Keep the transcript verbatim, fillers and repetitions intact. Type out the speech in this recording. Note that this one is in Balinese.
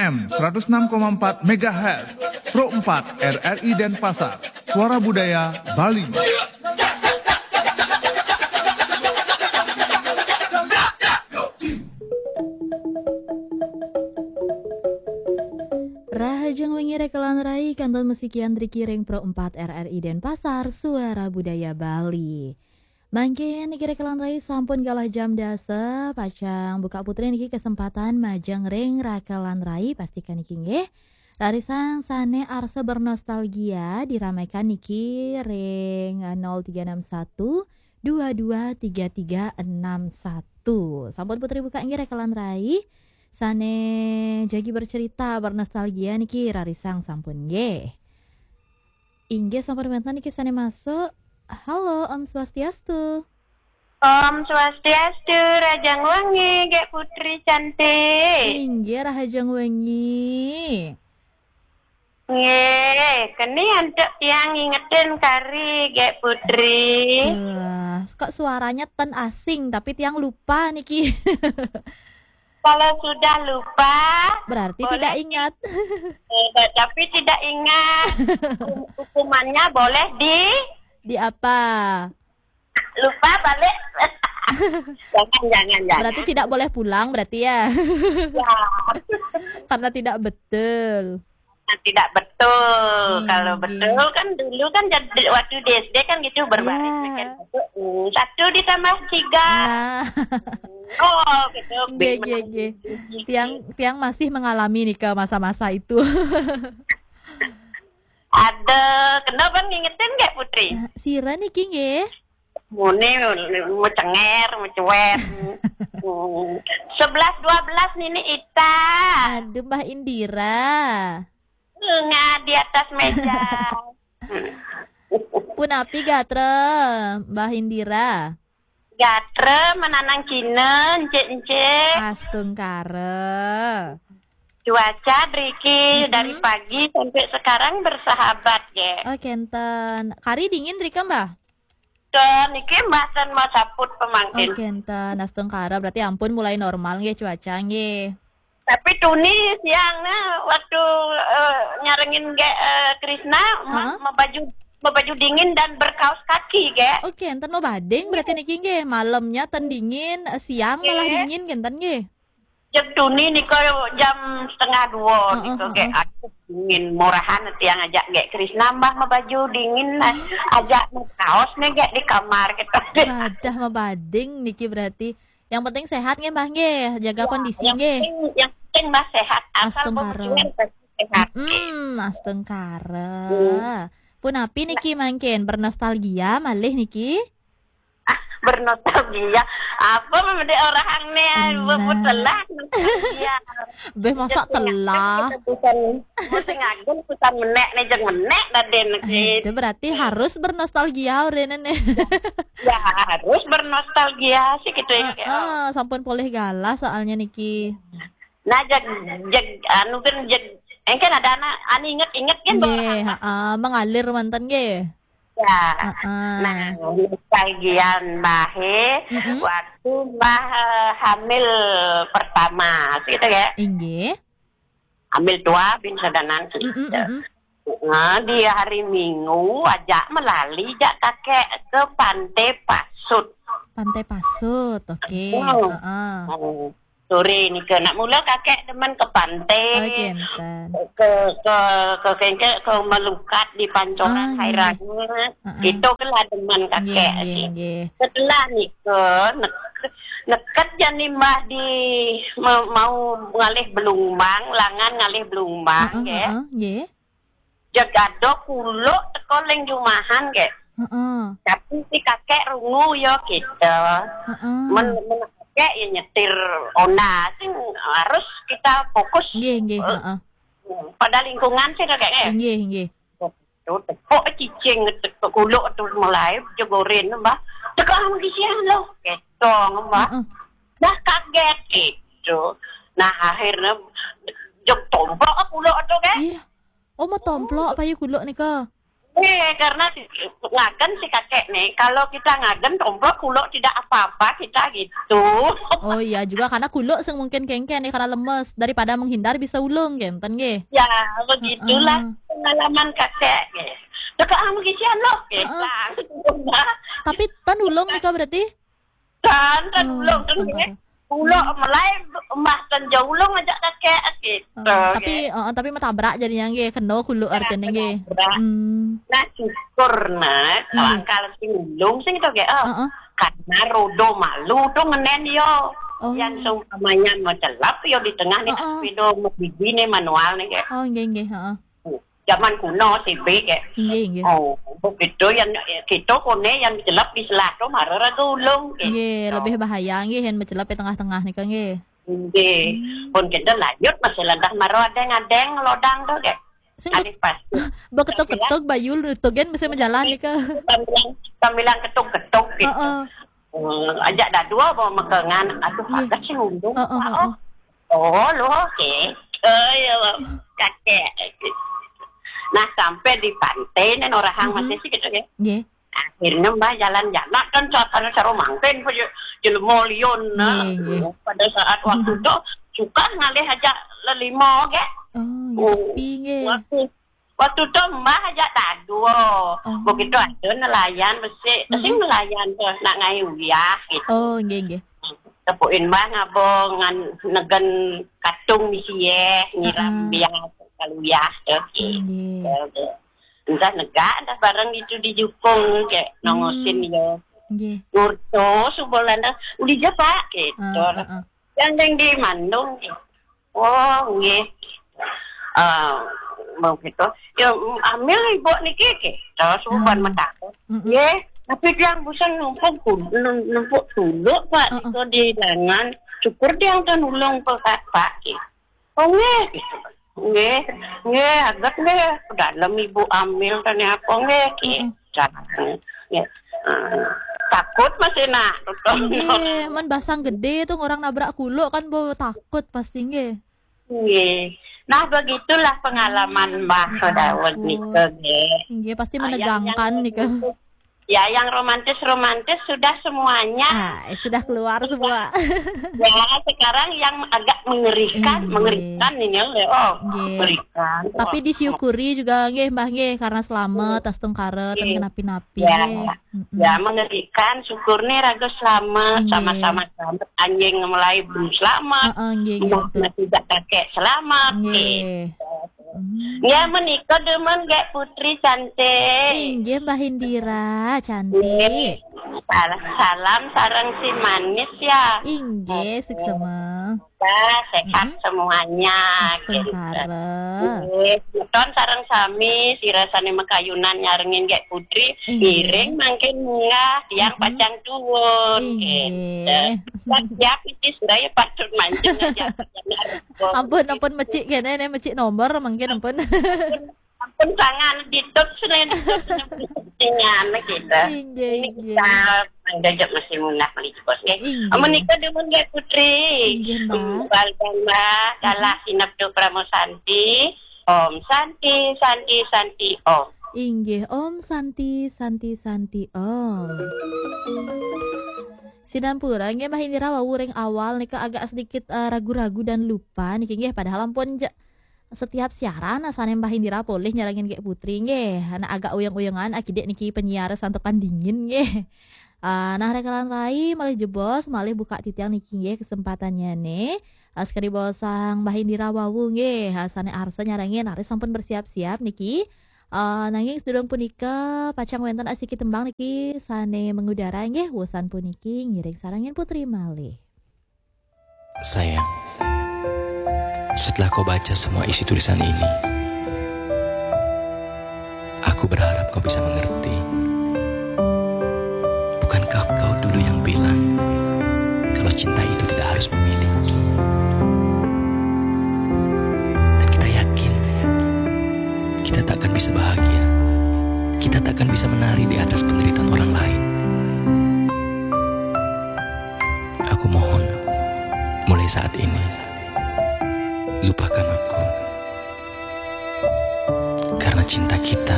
M seratus enam koma empat megahertz, Pro empat R R I Denpasar, Suara Budaya Bali. Rahajeng wengi rekelan rai, kantun masikian driki ring Pro empat R R I Denpasar, Suara Budaya Bali. Mangkin niki rekelan rai sampun galah jam dasa, pacang Buka Putri niki kesempatan majeng ring rekelan rai, pastikan niki nggih. Rarisang sane arsa bernostalgia diramaikan niki ring nol tiga enam satu dua dua tiga tiga enam satu. Sampun Putri buka nggih rekelan rai. Sane jagi bercerita bernostalgia niki rarisang sampun nggih. Inggih sampun wenten niki sane masuk. Halo, Om Swastiastu. Om Swastiastu, Rahajeng wengi, Gek Putri cantik. Inggih, Rahajeng wengi. Nggih, keni antuk tiang ngingetin kari, Gek Putri. Wah, kok suaranya ten asing, tapi tiang lupa niki. Kalau sudah lupa, berarti boleh tidak di- ingat. Eh, tapi tidak ingat. Hukum- hukumannya boleh di Di apa? Lupa balik. Jangan, jangan, jangan. Berarti tidak boleh pulang berarti ya? Ya. Karena tidak betul. Nah, tidak betul. Hmm, kalau nggih. Betul kan dulu kan jadi waktu di S D kan gitu berbaris. Ya. Kan satu, hmm, satu ditambah tiga. Nah. Oh, gitu. Nggih, nggih, nggih. Tiang, tiang masih mengalami nika masa-masa itu. Ada, kenapa ngingetin nggak, Putri? Sira niki nggih. Muni, mau cenger, mau cuet. Hmm. Sebelas dua belas Nini Ita. Aduh, Mbah Indira. Bunga di atas meja. Punapi gatra, Mbah Indira? Gatra menanang Cina, encik-encik. Astungkara. Cuaca driki, mm-mm, dari pagi sampai sekarang bersahabat, ge. Oh, kenten. Kari dingin drika, Mbah? Ten, niki Mbah ten mau saput pemangkin. Oh, kenten. Astungkara, berarti ampun mulai normal nggih cuaca nggih. Tapi tuni siang nah, waktu, eh, nyarengin ge, eh, Krisna, ma-, heeh, mau baju, mau baju dingin dan berkaos kaki, ge. Oke, enten mau bading berarti niki nggih. Malamnya ten dingin, eh, siang malah, nggih, dingin kenten nggih. Jeg tuni nika jam setengah dua, heeh, nika, ge, heeh, aku dingin, murahan tiang ajak ge Krisna, Mbah, mau baju dingin nah. Ajak mau kaos nih, ge, di kamar gitu. Badah mau bading niki berarti. Yang penting sehat nggih, Mbah, nggih. Jaga kondisi nggih. Ya, yang penting, yang penting Mbah sehat. Astungkara. Asal mau sehat, nggih. Mm, astungkara. Hmm. Punapi niki mangkin? Bernostalgia malih niki? Ah, bernostalgia. Apa mende orang ne, nah, buat telah nostalgia. Beh, masa telah? Kita bukan, bukan ngagem, bukan menek ne, jeng menek, Raden, gitu. Itu berarti harus bernostalgia, Raden, ne. Ya, harus bernostalgia sih gitu ya. Heeh, sampun polih galah soalnya niki. Nah, jeg, jeg, anu kan, jeg, engken ada anak, anu inget-inget kan, nggih, heeh, mengalir manten nggih. Ya. Heeh. Nah, nostalgia Mbah, mm-mm, waktu Mbah, eh, hamil pertama, gitu ya. Inggih. Hamil dua bin sadanan, gitu. Mm-mm, mm-mm. Nah, di hari Minggu aja melali jak kakek ke Pantai Pasut. Pantai Pasut, oke. Hmm. Heeh. Hmm. Sore nika nak mula kakek demen ke pantai, oh, kenten, ke, ke, ke kengke, ke melukat di pancoran, ah, nggih, Hairana. Heeh. Itu kelah demen kakek. Nggih, nggih, nggih. Setelah nika nek-, neket jani Mbah di me-, mau ngalih belumbang, langan ngalih belumbang, heeh, nggih. Heeh, nggih. Jeg ada kuluk teka ling jumahan, ge. Heeh. Tapi si kakek rungu ya kita. Heeh. Men, men kakek ya nyetir Honda, sing harus kita fokus. Nggih, nggih, eh, heeh, pada lingkungan sih, kakek, eh. Nggih, nggih. Tuh, tepuk cicing, tepuk kuluk tuh mulai jegorin, Mbah. Tekan di sini loh, ketong, Mbah. Heeh. Nah, kaget gitu. Nah, akhirnya jeg tomplok kuluk tuh, ge. Iya. Oh, mau tomplok payu kuluk nika? Eh, karena si, ngagen si kakek nih, kalau kita ngagen tomplok kuluk tidak apa-apa kita gitu. Oh iya juga, karena kuluk sing mungkin kengken nih, karena lemes, daripada menghindar bisa ulung, kenten nggih. Ya, begitulah. Heeh. Pengalaman kakek nggih. Teka ah, mengisian loh, nggih. Heeh. Lah, gitu, Mbak. Tapi ten ulung nika berarti? Kan, kan Oh, ulung kan astagfirullah. Nggih. Ulung melai mbah kan jauh ulung ajak kakek gitu. Oh, tapi, nggih. Heeh, tapi metabrak jadinya nggih, kena kuluk. Ya, artinya nggih. Metabrak. Hmm. Nah, syukur nah, hmm, kalau sing ulung sing itu nggih. Oh, heeh. Karena rodo malu tuh ngenen yo. Oh. Yang seumpamanya mecelap yo di tengah nih, heeh, sepeda biji nih manual nih nggih. Oh, nggih, nggih, heeh. Zaman kuno sih, Bik, ya. Inggih, inggih. Oh, begitu yang kita kone yang jelek di selah tu mara raga ulung, gitu. Nggih, lebih bahaya nggih yang mecelep di tengah-tengah nika nggih. Nggih. Hmm. Pun kita lanjut masih lantas mara adeng-adeng lodang tu, nggih. Sing alih pas. Beketuk-ketuk bayu nutugen bisa menjalan nika. Sambilan, sambilan ketuk-ketuk gitu. Heeh. Hmm, ajak dadua bawa mekengan. Aduh, nggih, agak sih undung, heeh, Pak, heeh, oh. Oh, lo, oke. Oh, ya, Bang. Kakek. Nah, sampai di pantai, nih, orang hang, mm-mm, masih sih gitu, ya. Nggih. Akhirnya Mbah jalan-jalan, kan suasana seru mangkin, jelema liun, nah. Nggih, nggih. Pada saat waktu itu, suka ngalih aja lelima, ge. Oh, nggih, oh, sepi, nggih. Waktu Waktu tu Mbah ajak dadua. Oh. Begitu ada nelayan besik, besik, mm-mm, nelayan tu nak ngai uyah gitu. Oh, nggih, nggih. Tepukin Mbah ngabong ngan negen katung misi ye, nyiram, heeh, biar kalau uyah tu. Nggih. Ya, tu. Entah negak, entah bareng gitu di jukung, kayak nongosin, hmm, ya. Nggih. Ngurto, subuh landa, "Uli je, Pak," gitu. Heeh, heeh. Yang deng di Mandung, gitu. Oh, nggih. Eh, mau gitu. Ya, ambil ibu niki, gitu. Terus umpan, ah, metakut. Mm-mm. Nggih, tapi tiang busan numpuk kul-, num-, numpuk tuluk, Pak, heeh, itu di lengan. Syukur tiang tu nulung, Pak, Pak, gitu. Oh, nggih, gitu. Nggih, nggih, aget nggih. Dalam ibu ambil tanya apa, nggih, gitu. Mm-mm. Caranya. Ya. Eh, takut masih nak. Nggih, men basang gede tu orang nabrak kuluk kan, bo takut pasti, nggih. Nggih. Nah, begitulah pengalaman Mbah Daud nika, nggih. Nggih, pasti menegangkan nika. Ya, yang romantis-romantis sudah semuanya. Ah, sudah keluar semua. Ya, sekarang yang agak mengerikan, nggih, mengerikan ini, oh, nggih, mengerikan. Tapi disyukuri juga, nggih, Mbah, nggih, karena selamat, nggih, astungkara, nggih, ten kenapi-napi, ya, nggih. Mm-mm. Ya, mengerikan, syukur nih raga selamat, nggih, sama-sama selamat. Anjing mulai belum selamat. Heeh, nggih, nggih, betul. Masih tak kakek selamat, nggih, nggih. Hmm. Ya, menika demen, Gek Putri cantik. Inggih, Mbah Indira cantik. Nggih. Salam, salam sareng si manis ya. Inggih, suksema. Sehat, mm-mm, semuanya, gitu. Astungkara. Nggih, semeton sareng sami, sira sane makayunan nyarengin Gek Putri, inggih, ngiring mangkin munggah, tiang, mm-mm, pacang tuwun, inggih, gitu. Siap, siap, iki sira ya patut mancing aja. Ampun, ampun, mecik kene, ne mecik nomor mangkin, ampun. Ampun, ampun, tangan ditutup selain dengan gitu. Inggih, ini inggih. Kita menjajak masih munah meli jebos, nggih. Inggih. Menika demen, nggih, Putri. Inggih, Mbak. Bal Mbak, dalah, mm-hmm, sinep tu Pramo Santi. Om Santi, Santi, Santi, Om. Inggih, Om Santi, Santi, Santi, Om. Sinampura, nggih, Mbah Indira wau ring awal nika agak sedikit, eh, ragu-ragu dan lupa niki, nggih, padahal ampun ja-, setiap siaran asane Mbah Indira polih nyarengin Gek Putri, nggih. Ana agak uyang-uyangan akidik niki penyiar santukan dingin, nggih. Ah, nah, rekan rai malih jebos, malih buka titiang niki, nggih, kesempatannya ne. Ah, sekadi bosang Mbah Indira wau, nggih, ah, sane arsa nyarengin, raris sampun bersiap-siap niki. Ah, nanging sedurung punika pacang wenten asiki tembang niki sane mengudara, nggih, wusan puniki ngiring sarengin Putri malih. Sayang, setelah kau baca semua isi tulisan ini, aku berharap kau bisa mengerti. Bukankah kau dulu yang bilang kalau cinta itu tidak harus memiliki? Dan kita yakin, kita tak akan bisa bahagia. Kita tak akan bisa menari di atas penderitaan orang lain. Aku mohon, mulai saat ini, lupakan aku. Karena cinta kita